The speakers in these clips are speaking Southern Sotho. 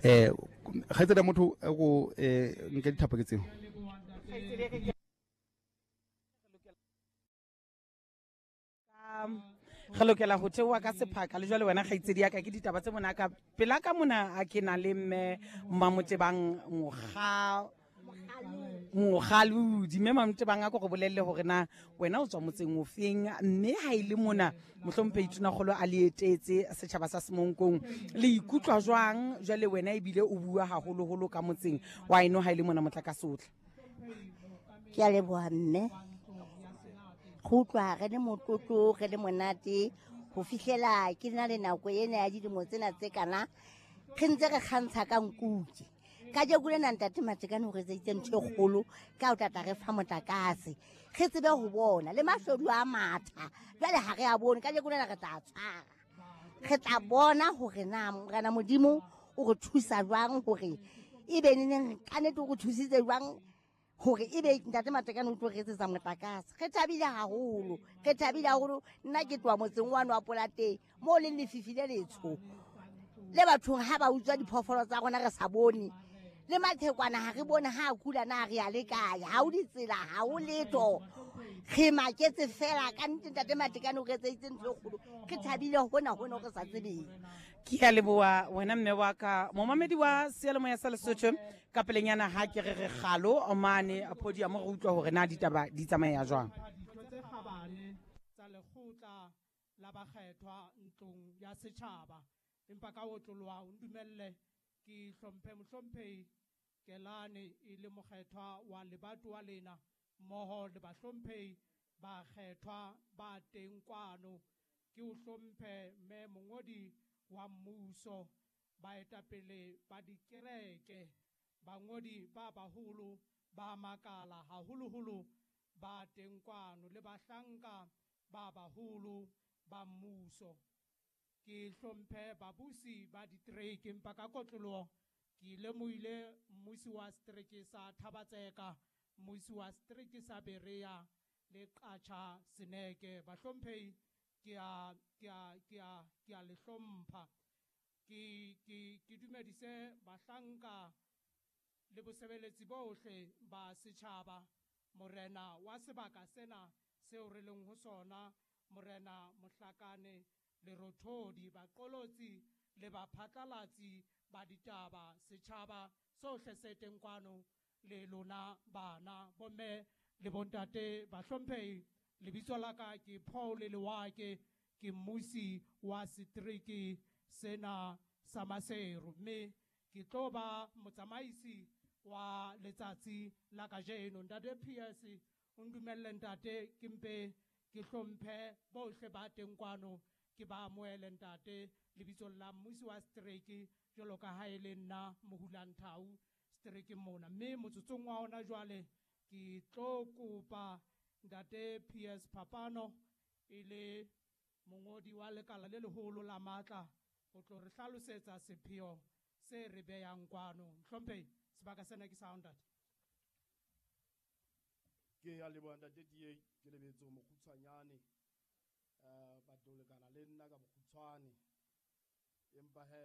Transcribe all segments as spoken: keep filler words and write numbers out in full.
Eh kgaitsedi motho go eh nke dithapo ke tseo. Re lokela ho theoha ka sephaka le jwale wena kgaitsedi ya ka ke ditaba tse mona ka pela ka mona a ke na le mme Mamotebang Mokga Mokgalodi. Mme Mamotebang a ko re bolelle hore na wena o tswa motseng o feng, mme ha e le mona mohlomphehi Tonakgolo a le etetse setjhaba sa Semonkong, le ikutlwa jwang jwale wena ebile o bua haholoholo ka motseng wa eno ha e le mona motlakase o tla? Ke a leboha mme. Go utlwa re le motlotlo, re le monate ho fihlela ke na le nako ena ya dilemo tsena tse kana re ntse re kgantsha ka nkuti. Kajeko lena ntate Matekane o re etseditse ntho e kgolo ka ho tlatla re fa motlakase, re tsebe ho bona le mashodu a matha. Jwale ha re a bone, kajeko lena re tla tshwara, re tla bona hore na Morena Modimo o re thusa jwang hore ebe neneng ka nnete o re thusitse jwang hore ebe ntate Matekane o tlo re etsetsa motlakase. Re thabile haholo, re thabile haholo. Nna ke tloha motseng wa wa Polateng moo leng lefifi le letsho le bathong ha ba utswa diphoofolo tsa rona re sa bone, le mathekwana ha re bone ha a kula na re ya le kae, ha o ditsela, ha o letho, re maketse fela. Ka nnete ntate Matekane o re etseditse ntho e kgolo, re thabile hona hona re sa tsebeng. Ke a leboha wena mme wa ka, momamedi wa seyalemoya sa Lesotho. Ka pelenyana ha ke re re kgalo mane podium re utlwa hore na ditaba di tsamaya jwang. Ditho tse kgabane tsa lekgotla la bakgethwa ntlong ya setjhaba, empa ka otloloha o ndumelle ke hlomphe mohlomphehi Kelane e le mokgethwa wa lebatowa lena mmoho le bahlomphehi bakgethwa ba teng kwano. Ke o hlomphe mme mongodi wa mmuso, baetapele ba dikereke, bangodi ba baholo ba makala haholoholo ba teng kwano le bahlanka ba baholo ba mmuso. Ke hlomphe babusi ba ditereke, empa ka kotloloho ke lemohile mmusi wa setereke sa Thabatseka, mmusi wa setereke sa Berea le Qacha Seneke. Bahlomphehi, ke a ke a ke a ke a le hlompha. Ke ke ke dumedise bahlanka le bosebeletsi bohle ba setjhaba, morena wa sebaka sena seo re leng ho sona, morena Mohlakane Lerothodi, baqolotsi le baphatlalatsi ba ditaba, setjhaba sohle se teng kwano le lona bana, bomme le bontate bahlomphehi. Lebitso la ka ke Paul Lewake, ke mmusi wa setereke sena sa Maseru, mme ke tlo ba motsamaisi wa letsatsi la kajeno. Ntate P S, o ndumelle ntate ke mpe ke hlomphe bohle ba teng kwano, ke ba amohele ntate lebitsong la mmusi wa setereke jwalo ka ha e le nna Mohulanthau seterekeng mona. Mme motsotsong wa hona jwale ke tlo kopa ntate P S Phapano e le mongodi wa lekala le leholo la matla ho tlo re hlalosetsa sepheo se re behang kwano. Hlomphehi, sebaka sena ke sa hao ntate. Ke a leboha ntate D A, ke lebetse ho mokgutshwanyane, eh, batho lekana le nna ka bokgutshwane, empa he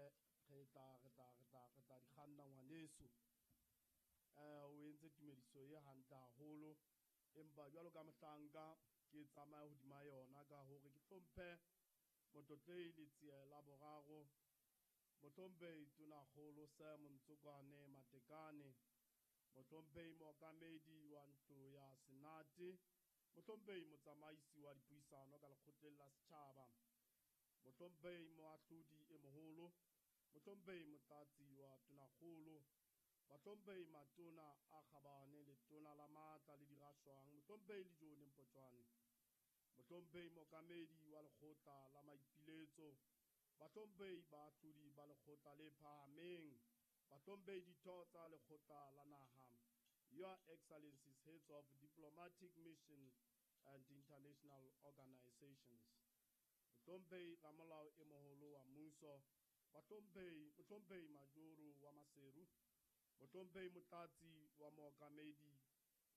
re tla, re tla, re tla, re tla di kganna ngwaneso. Eh, o entse tumediso e hantle haholo, empa jwalo ka mohlanka ke tsamaya hodima yona ka hore ke hlomphe motlotlehi Letsie la boraro, mohlomphehi Tonakgolo Sam Ntsokwane Matekane, mohlomphehi mookamedi wa ntlo ya Senate, mohlomphehi motsamaisi wa dipuisano ka lekgotleng la setjhaba, mohlomphehi moahlodi e moholo, mohlomphehi motlatsi wa Tonakgolo, bahlomphehi matona a kgabane, letona la matla le dirashwang, mohlomphehi Lejone Mpotjwane, mohlomphehi mookamedi wa lekgotla la maipiletso, bahlomphehi baahlodi ba lekgotla le phahameng, bahlomphehi ditho tsa lekgotla la naha, Your Excellencies, heads of diplomatic mission and international organizations, mohlomphehi ramolao e moholo wa mmuso, bahlomphehi, mohlomphehi Majoro wa Maseru, mohlomphehi motlatsi wa mookamedi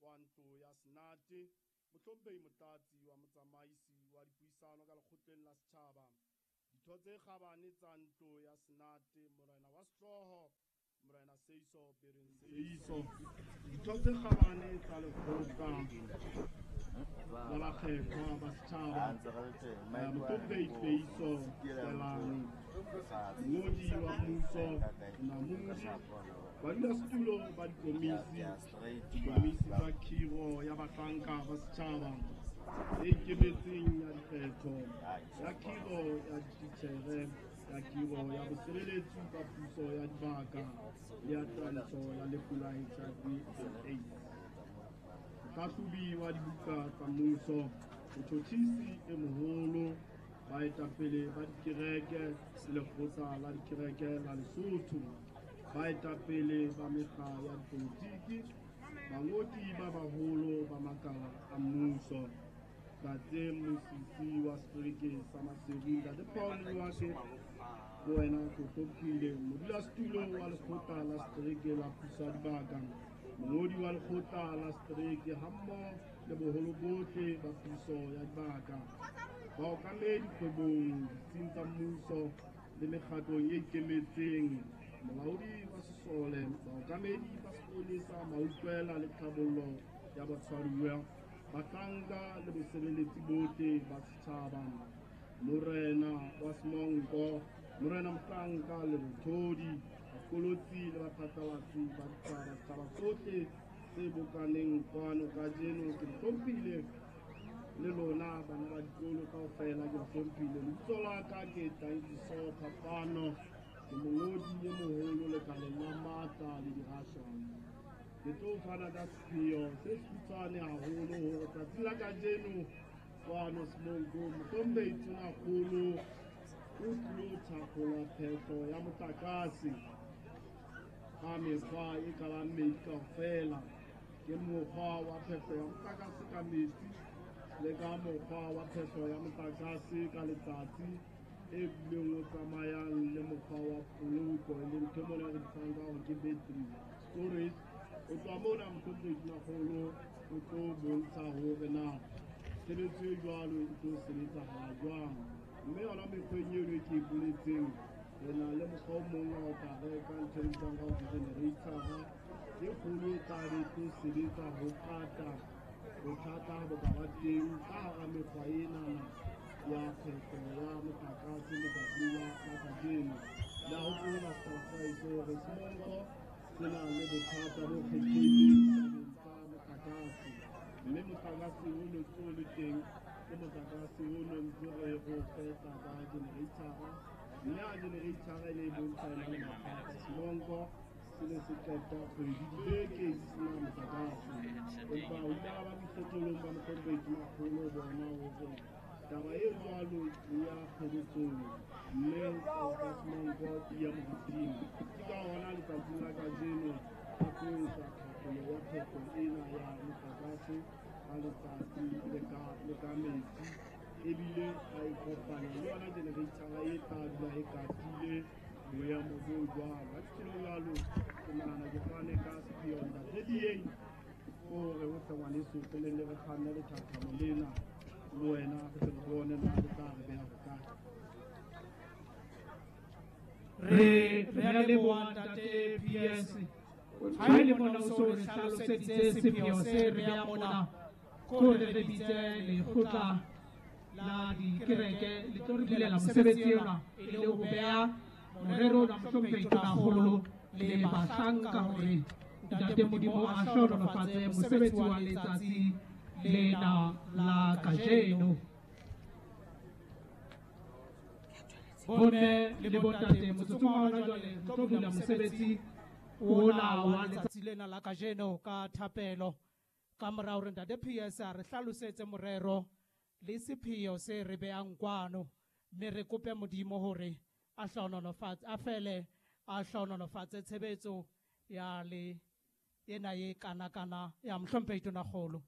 wa ntlo ya Senate, mohlomphehi motlatsi wa motsamaisi wa dipuisano ka lekgotleng la setjhaba, ditho tse kgabane tsa ntlo ya Senate, morena wa sehlooho Seiso Bereng Seiso, ditho tse kgabane tsa lekgotla la bakgethwa ba setjhaba, Mohlomphehi Peiso Tselane, mongodi wa mmuso Namodi, badulasetulo ba dikomisi, dikomisi tsa khiro ya bahlanka ba setjhaba e ikemetseng ya dikgetho, ya khiro ya dititjhere, ya khiro ya bosebeletsi ba puso ya dibaka le ya twantsho ya lefu la H I V and AIDS. Mohlahlobi wa dibuka tsa mmuso, motjhotjhisi e moholo, baetapele ba dikereke le lekgotla la dikereke la Lesotho, baetapele ba mekga ya dipolotiki, bangodi ba baholo ba makala a mmuso, Ntate Mmusisi wa setereke sa Maseru, Ntate Paul Leoake, le wena ke o hlomphile, modulasetulo wa lekgotla la setereke la puso ya dibaka, mongodi wa lekgotla la setereke hammoho le boholo bohle ba puso ya dibaka, baokamedi kgwebong, ditsing tsa mmuso le mekgatlong e ikemetseng, molaodi wa sesole, baokamedi ba sepolesa, mautlwela le tlhabollo ya batshwaruwa, bahlanka le bosebeletsi bohle ba setjhaba, morena wa Semonko, morena Mohlanka le Bothodi, bakolotsi le baphatlalatsi ba ditaba, setjhaba sohle se bokaneng kwano kajeno, ke le hlomphile le lona bana ba dikolo kaofela, ke le hlomphile. Lebitso la ka ke Tankiso Phapano, ke mongodi e moholo lekaleng la matla le dirashwana. Ke tlo fana ka sepheo se sekgutshwane haholo hore tsatsing la kajeno kwano Semonko, Mohlomphehi Tonakgolo o tlilo thakgola phehlo ya motlakase ka mekgwa e ka bang mmedi kaofela. Ke mokgwa wa phehlo ya motlakase ka metsi le ka mokgwa wa phehlo ya motlakase ka letsatsi e bileng o tsamayang le mokgwa wa poloko, e leng ntho mona re bitsang ka hore ke battery storage. O tloha mona Mohlomphehi Tonakgolo o tlo bontsha hore na tshebetso e jwalo e tlo sebetsahala jwang. Mme yona mekgweng eno e ke e boletseng, re na le mokgwa o mong wa ho ka reka ntho e bitswang ka hore generator-a e kgolo e tla be e tlo sebetsa ho kata bothata bo ka ba teng ka hara mekgwa enana ya phehlo ya motlakase letsatsing la kajeno. Le a hopola setjhaba sa heso hore Semonko se na le bothata bo kgethehileng tabeng tsa motlakase, mme motlakase o no ntso o le teng ke motlakase o no ntse re o fehla ka generator-a, mme ha generator-a e ne e bontsha e na le mathata, Semonko se ne se qeta kgwedi dibeke di sena motlakase. Empa ho ile ha ba boikgetholong ba Mohlomphehi Tonakgolo bona hore taba e jwalo e ya pheletsong, mme tsa Semonko di ya moriting. Ke ka hona letsatsing la kajeno a tlo etsa thakgolo ya phehlo ena ya motlakase ka letsatsi le ka le ka metsi, ebile a e kopanya le yona generator-a e tla dula e katile boemo bo jwalo. Ha ke tjhelo jwalo, ke nahana ke fane ka sepheo Ntate Dieng hore o tle ngwaneso pele le re kganne lethathamo lena le wena re tle re bone na le tla re beha hokae. Re re a leboha Ntate P S. Ha e le mona o so re hlaloseditse sepheo se re beha mona, ko re re bitse lekgotla la dikereke le tlo re bulela mosebetsi ona e le ho beha morero ona Mohlomphehi Tonakgolo le bahlanka hore Ntate Modimo a hlohonolofatse mosebetsi wa letsatsi lena la kajeno. Bomme le bontate, motsotsong wa hona jwale re tlo bula mosebetsi ona wa letsatsi lena la kajeno ka thapelo. Ka mora hore Ntate P S a re hlalosetse morero le sepheo se re behang kwano, mme re kope Modimo hore a hlohonolofatse, a fele a hlohonolofatse tshebetso ya le ena e kanakana ya Mohlomphehi Tonakgolo.